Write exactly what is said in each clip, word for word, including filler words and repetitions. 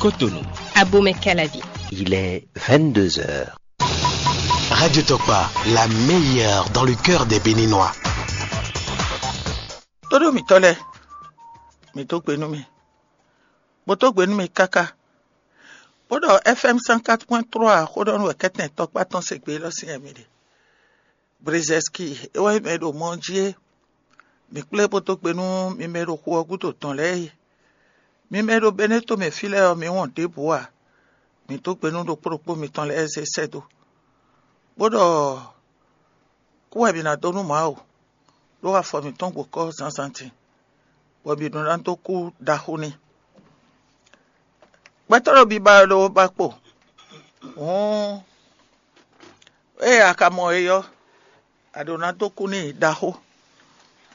Cotonou. Abomey Calavi. Il est vingt-deux heures. Radio Tokpa, la meilleure dans le cœur des Béninois. Tóɖó mǐtɔn lɛ́ɛ, mǐ dó gbe nú mi, bó dó gbe nú mi káká, bó ɖɔ F M cent quatre point trois xó ɖɔ nú wɛ kɛ́tɛn tɔkpá tɔn se gbe élɔ́ sín wɛ mi ɖe. Brezɛski é wɛ mɛ ɖo mɔ ɔ́ jí é. Mǐ kplé bó dó gbe nú mi mɛ e ɖo xu ɔ́ gúdo tɔn lɛ́ɛ é. Mi mɛ e ɖo Beneto mɛ fí lɛ́ɛ ɔ́, mi wɔn ɖěbǔ ǎ. Mǐ dó gbe nú ɖokpó ɖokpó mitɔn lɛ́ɛ zé sɛ́ dó, bó ɖɔ kú wɛ mǐ ná dó nú Mawu, ɖó afɔ mǐtɔn gbo kɔ́ zǎnzǎn din, bɔ mǐ ɖó ná dó kú ɖaxó n'i. Gbɛtɔ́ ɖo biba ɔ́ ɖó ba kpo. Hǔn ée a ka mɔ é ɔ́, a ɖǒ ná dó kú n'i ɖaxó,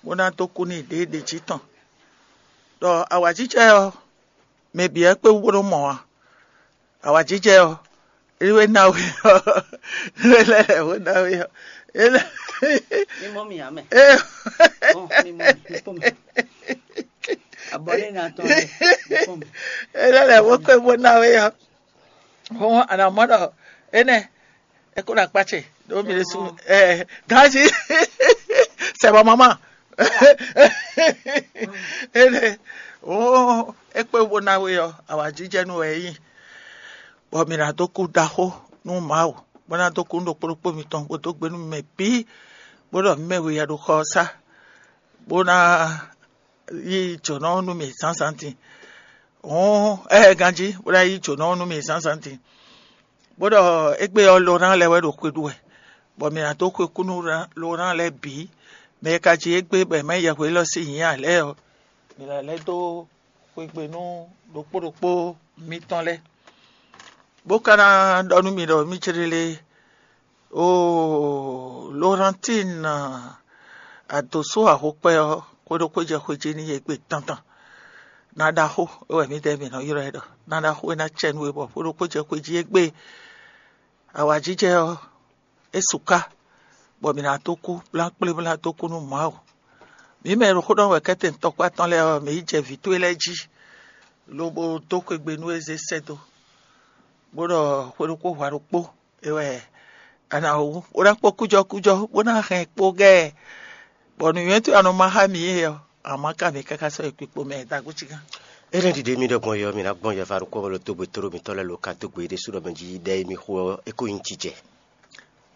bó ná dó kú n'i ɖěɖě jí tɔn. Ɖɔ awǎjijɛ ɔ́, mɛ bǐ wɛ kpé wú bó nɔ́ mɔ ǎ. Awǎjijɛ ɔ́, é wɛ ná we ɔ́, é lɛ́ lɛ̌ bó ná we ɔ́, é lɛ́ Mi mɔ mi ǎ mɛ. é Bɔn mi mɔ mi, mi kpɔ́n mi. Abɔ lé na tɔn lɛ, mi kpɔ́n mi. É lɛ́ lɛ̌ bó kpé bó ná we ɔ́. Hɔn a nǎ mɔ ɖɔ énɛ́ é kó ɖo akpá ce ɖó mi ɖésú. Ganji. C'est bon, maman. Énɛ́ ó é kpé bó ná we ɔ́, awǎjijɛ nú wɛ é nyí, bɔ mǐ ná dó kú ɖaxó nú Mawu, bó ná dó kú nú ɖokpó ɖokpó mitɔn, bó dó gbe nú mɛ bǐ, bó ɖɔ mǐ mɛ we ya ɖo xɔ ɔ́ sá, bó ná yí jǒnɔ nú mì zǎnzǎn din. Hǔn ɛ ganjí bó ná yí jǒnɔ nú mì zǎnzǎn din, bó ɖɔ égbé ɔ́ Lorán lɛ́ɛ wɛ ɖo xwe ɖu wɛ, bɔ mǐ ná dó xwe kú nú Lorán lɛ́ɛ bǐ. Mɛ e ka ji égbé bɔ è mǎ yi yɛhweɖɔ sín nyǐ ǎ lɛ́ɛ ɔ́, mǐ ná lɛ́ dó xwegbe nú ɖokpó ɖokpó mitɔn lɛ́ɛ, bó ka ná ɖɔ nú mi ɖɔ mì céɖélé. Oo, Lorantín, adǒsó ahokpɛ ɔ́, xwé ɖokpó jɛ xwé jí n'i égbé tantan. Ná ɖaxó é wɛ mǐdɛɛ mǐ nɔ ylɔ́ ɛ ɖɔ ná ɖaxó é ná cɛ nú we bɔ xwé ɖokpó jɛ xwé jí égbé. Awǎjijɛ ɔ́, é su ká, bɔ mǐ ná dó kú blánkplé bó ná dó kú nú Mawu. Mǐ mɛ e ɖo xó ɖɔ wɛ kɛ́tɛn tɔkpá tɔn lɛ́ɛ ɔ́, mǐ yi jɛ vǐ towe lɛ́ɛ jí, lobo dó xwegbe nú é zé sɛ́ dó, bó ɖɔ xwé ɖokpó hwa ɖokpó é wɛ a nǎ wú, bó ná kpɔ́n kújɔkújɔ, bó ná hɛn kpó gɛ́ ɛ, bɔ nǔnywɛ́ towe a nɔ má xá mǐ é ɔ́, a má ka mǐ káká sɔ́ yi kpikpo mɛ dagúcigán. Énɛ́ ɖiɖe mì ɖɔ gbɔn yɔ, mǐ ná gbɔn yɔ va ɖokpó bɔ lo dó gbe tóɖó mǐtɔn lɛ́ɛ lo ka dó gbe ɖésú ɖɔ mɛ jí ɖɛ e mi xo ɔ́, é ko nyí jijɛ.